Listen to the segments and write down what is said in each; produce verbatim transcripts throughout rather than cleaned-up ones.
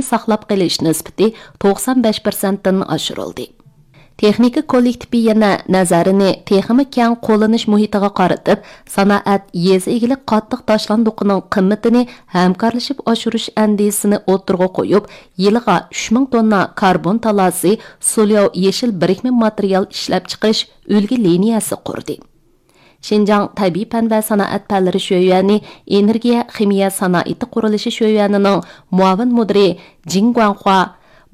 ساقلاپ قېلىش نىسبىتى توقسان بەش پىرسەنتتىن ئاشۇرۇلدى. تېخنىكا كوللېكتىپى يەنە نەزەرىنى تېخىمۇ كەڭ قوللىنىش مۇھىتىغا قارىتىپ، سانائەت، يېزا ئىگىلىك قاتتىق تاشلاندۇقىنىڭ قىممىتىنى ھەمكارلىشىپ ئاشۇرۇش ئەندىزىسىنى ئوتتۇرىغا قويۇپ، يىلىغا ئۈچ مىڭ توننا كاربون تالاسى، سولياۋ يېشىل بىرىكمە ماتېرىيال ئىشلەپچىقىرىش ئۈلگە لىنىيەسى قۇردى. شىنجاڭ تەبىئىي پەن ۋە سانائەت پەنلىرى شۆيۈەنى ئېنېرگىيە خىمىيە سانائىتى قۇرۇلۇشى شۆيۈەنىنىڭ مۇئاۋىن مۇدىرى جىڭ گۇاڭخۇا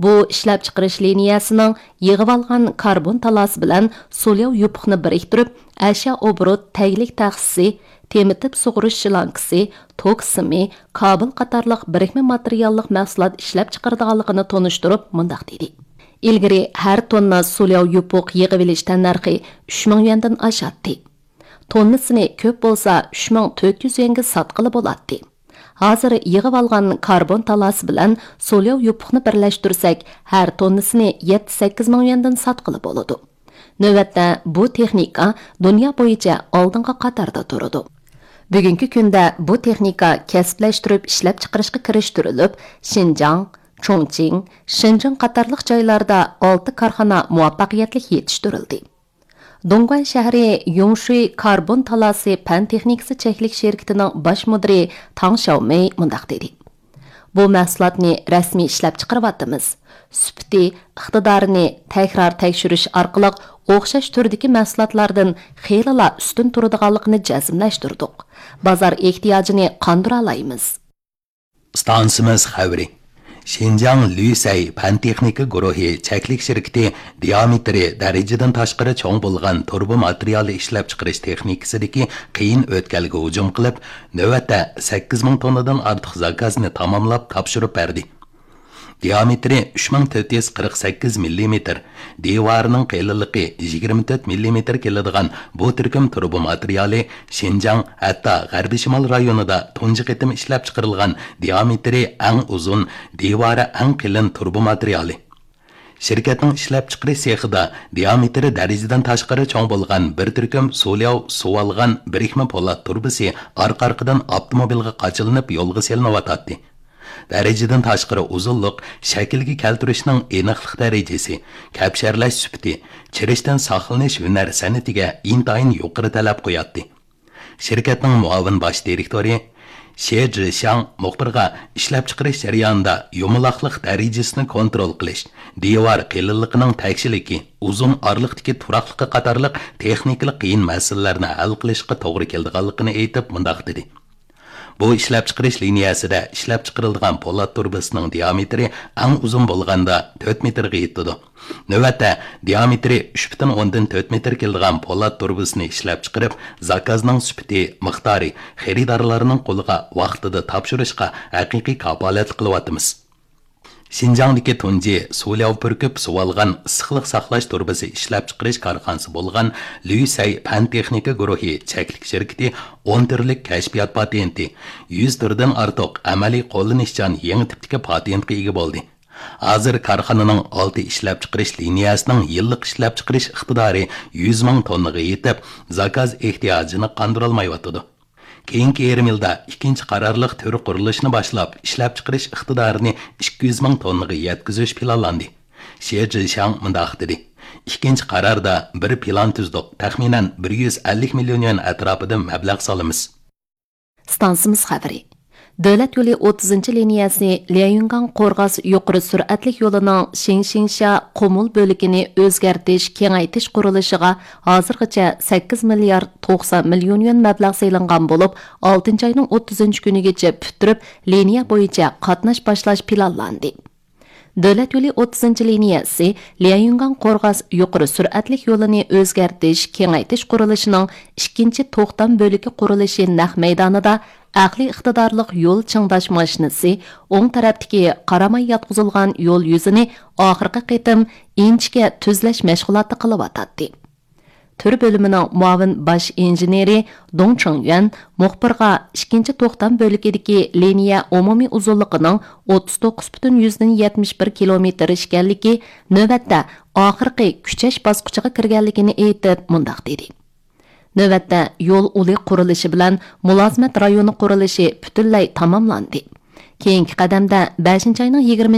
بۇ ئىشلەپچىقىرىش لىنىيەسىنىڭ يىغىۋالغان كاربون تالاسى بىلەن سولياۋ يوپۇقنى بىرىكتۈرۈپ، ئەشيا ئوبوروت تەگلىك تەخسىسى، تېمىتىپ سۇغۇرۇش شلانكىسى، توك سىمى، كابېل قاتارلىق بىرىكمە ماتېرىياللىق مەھسۇلات ئىشلەپچىقىرىدىغانلىقىنى تونۇشتۇرۇپ، مۇنداق دېدى: ئىلگىرى ھەر توننا سولياۋ يوپۇق يىغىۋېلىش تەننەرخى ئۈچ مىڭ يۈەندىن ئاشاتتى. توننىسىنى كۆپ بولسا ئۈچ مىڭ تۆت يۈز يۈەنگە ساتقىلى بولاتتى. ھازىر يىغىۋالغان كاربون تالاسى بىلەن سولياۋ يوپۇقنى بىرلەشتۈرسەك، ھەر توننىسىنى يەتتە سەككىز مىڭ يۈەندىن ساتقىلى بولىدۇ. نۆۋەتتە بۇ تېخنىكا دۇنيا بويىچە ئالدىنقى قاتاردا تۇرىدۇ. بۈگۈنكى كۈندە بۇ تېخنىكا كەسىپلەشتۈرۈپ ئىشلەپچىقىرىشقا كىرىشتۈرۈلۈپ، شىنجاڭ، چۇڭچىڭ، شېنجېن قاتارلىق جايلاردا ئالتە كارخانا مۇۋەپپەقىيەتلىك يېتىشتۈرۈلدى. دۇڭگۇەن شەھىرى يۇڭشۈي كاربون تالاسى پەن تېخنىكىسى چەكلىك شىركىتىنىڭ باش مۇدىرى تاڭ شياۋمېي مۇنداق دېدى: بۇ مەھسۇلاتنى رەسمىي ئىشلەپچىقىرىۋاتىمىز. سۈپىتى، ئىقتىدارىنى تەكرار تەكشۈرۈش ئارقىلىق ئوخشاش تۈردىكى مەھسۇلاتلاردىن خېلىلا ئۈستۈن تۇرىدىغانلىقىنى جەزملەشتۈردۇق. بازار ئېھتىياجىنى قاندۇرالايمىز. ئىستانسىمىز خەۋىرى. شىنجاڭ لۈسەي پەن تېخنىكا گۇرۇھى چەكلىك شىركىتى دىئامېتىرى دەرىجىدىن تاشقىرى چوڭ بولغان تۇرۇبا ماتېرىيالى ئىشلەپچىقىرىش تېخنىكىسىدىكى قىيىن ئۆتكەلگە ھۇجۇم قىلىپ، نۆۋەتتە سەككىز مىڭ توننىدىن ئارتۇق زاكازنى تاماملاپ تاپشۇرۇپ بەردى. دىئامېتىرى ئۈچ مىڭ تۆت يۈز قىرىق سەككىز مىللىمېتىر، دىۋارىنىڭ قېلىنلىقى يىگىرمە تۆت مىللىمېتىر كېلىدىغان بۇ تۈركۈم تۇرۇبا ماتېرىيالى شىنجاڭ، ھەتتا غەربىي شىمال رايونىدا تۇنجى قېتىم ئىشلەپچىقىرىلغان دىئامېتىرى ئەڭ ئۇزۇن، دىۋارى ئەڭ قېلىن تۇرۇبا ماتېرىيالى. شىركەتنىڭ ئىشلەپچىقىرىش سېخىدا دىئامېتىرى دەرىجىدىن تاشقىرى چوڭ بولغان بىر تۈركۈم سولياۋ سۇۋالغان بىرىكمە پولات تۇرۇبىسى ئارقا-ئارقىدىن ئاپتوموبىلغا قاچىلىنىپ يولغا سېلىنىۋاتاتتى. دەرىجىدىن تاشقىرى ئۇزۇنلۇق شەكىلگە كەلتۈرۈشنىڭ ئېنىقلىق دەرىجىسى، كەپشەرلەش سۈپىتى، چىرىشتىن ساقلىنىش ھۈنەر سەنئىتىگە ئىنتايىن يۇقىرى تەلەپ قوياتتى. شىركەتنىڭ مۇئاۋىن باش دىرېكتورى شې جىشياڭ مۇخبىرغا ئىشلەپچىقىرىش جەريانىدا يۇمىلاقلىق دەرىجىسىنى كونترول قىلىش، دىۋار قېلىنلىقىنىڭ تەكشىلىكى، ئۇزۇن ئارىلىقتىكى تۇراقلىقى قاتارلىق تېخنىكىلىق قىيىن مەسىلىلەرنى ھەل قىلىشقا توغرا كېلىدىغانلىقىنى ئېيتىپ، مۇنداق دېدى. بۇ ئىشلەپچىقىرىش لىنىيەسىدە ئىشلەپچىقىرىلىدىغان پولات تۇرۇبىسىنىڭ دىئامېتىرى ئەڭ ئۇزۇن بولغاندا تۆت مېتىرغا يېتىدۇ. نۆۋەتتە دىئامېتىرى ئۈچ پۈتۈن ئوندىن تۆت مېتىر كېلىدىغان پولات تۇرۇبىسىنى ئىشلەپچىقىرىپ، زاكازنىڭ سۈپىتى، مىقدارى، خېرىدارلارنىڭ قولىغا ۋاقتىدا تاپشۇرۇشقا ھەقىقىي كاپالەتلىك قىلىۋاتىمىز. شىنجاڭدىكى تۇنجى سۇلياۋ پۈركۈپ سۇۋالغان ئىسسىقلىق ساقلاش تۇرۇبىسى ئىشلەپچىقىرىش كارخانىسى بولغان لۈسەي پەن تېخنىكا گۇرۇھى چەكلىك شىركىتى ئون تۈرلۈك كەشپىيات پاتېنتى، يۈز تۈردىن ئارتۇق ئەمەلىي قوللىنىشچان يېڭى تىپتىكى پاتېنتقا ئىگە بولدى. ھازىر كارخانىنىڭ ئالتە ئىشلەپچىقىرىش لىنىيەسىنىڭ يىللىق ئىشلەپچىقىرىش ئىقتىدارى يۈز مىڭ توننىغا يېتىپ، زاكاز ئېھتىياجىنى قاندۇرالمايۋاتىدۇ. كېيىنكى يېرىم يىلدا ئىككىنچى قارارلىق تۈر قۇرۇلۇشىنى باشلاپ، ئىشلەپچىقىرىش ئىقتىدارىنى ئىككى يۈز مىڭ توننىغا يەتكۈزۈش پىلانلاندى. شې جىشياڭ مۇنداق دېدى: ئىككىنچى قاراردا بىر پىلان تۈزدۇق، تەخمىنەن بىر يۈز ئەللىك مىليون يۈەن ئەتراپىدا مەبلەغ سالىمىز. ئىستانسىمىز خەۋىرى. دۆلەت يولى ئوتتۇزىنچى لىنىيەسى ليەنيۈنگاڭ قورغاس يۇقىرى سۈرئەتلىك يولىنىڭ شىڭشىڭشيا قۇمۇل بۆلىكىنى ئۆزگەرتىش، كېڭەيتىش قۇرۇلۇشىغا ھازىرغىچە سەككىز مىليارد توقسان مىليون يۈەن مەبلەغ سېلىنغان بولۇپ، ئالتىنچى ئاينىڭ ئوتتۇزىنچى كۈنىگىچە پۈتتۈرۈپ، لىنىيە بويىچە قاتناش باشلاش پىلانلاندى. دۆلەت يولى ئوتتۇزىنچى لىنىيەسى ليەنيۈنگاڭ قورغاس يۇقىرى سۈرئەتلىك يولىنى ئۆزگەرتىش، كېڭەيتىش قۇرۇلۇشىنىڭ ئىككىنچى توختام بۆلىكى قۇرۇلۇشى نەق مەيدانىدا ئەقلىي ئىقتىدارلىق يول چىڭداش ماشىنىسى، ئوڭ تەرەپتىكى قاراماي ياتقۇزۇلغان يول يۈزىنى ئاخىرقى قېتىم ئىنچىكە تۈزلەش مەشغۇلاتى قىلىۋاتاتتى. تۈر بۆلۈمىنىڭ مۇئاۋىن باش ئىنژېنېرى دۇڭ چىڭيۈەن مۇخبىرغا ئىككىنچى توختام بۆلىكىدىكى لىنىيە ئومۇمىي ئۇزۇنلۇقىنىڭ ئوتتۇز توققۇز پۈتۈن يۈزدىن يەتمىش بىر كىلومېتىر ئىكەنلىكى، نۆۋەتتە ئاخىرقى كۈچەش باسقۇچىغا كىرگەنلىكىنى ئېيتىپ، مۇنداق دېدى: نۆۋەتتە يول ئۇلى قۇرۇلۇشى بىلەن مۇلازىمەت رايونى قۇرۇلۇشى پۈتۈنلەي تاماملاندى. كېيىنكى قەدەمدە بەشىنچى ئاينىڭ يىگىرمە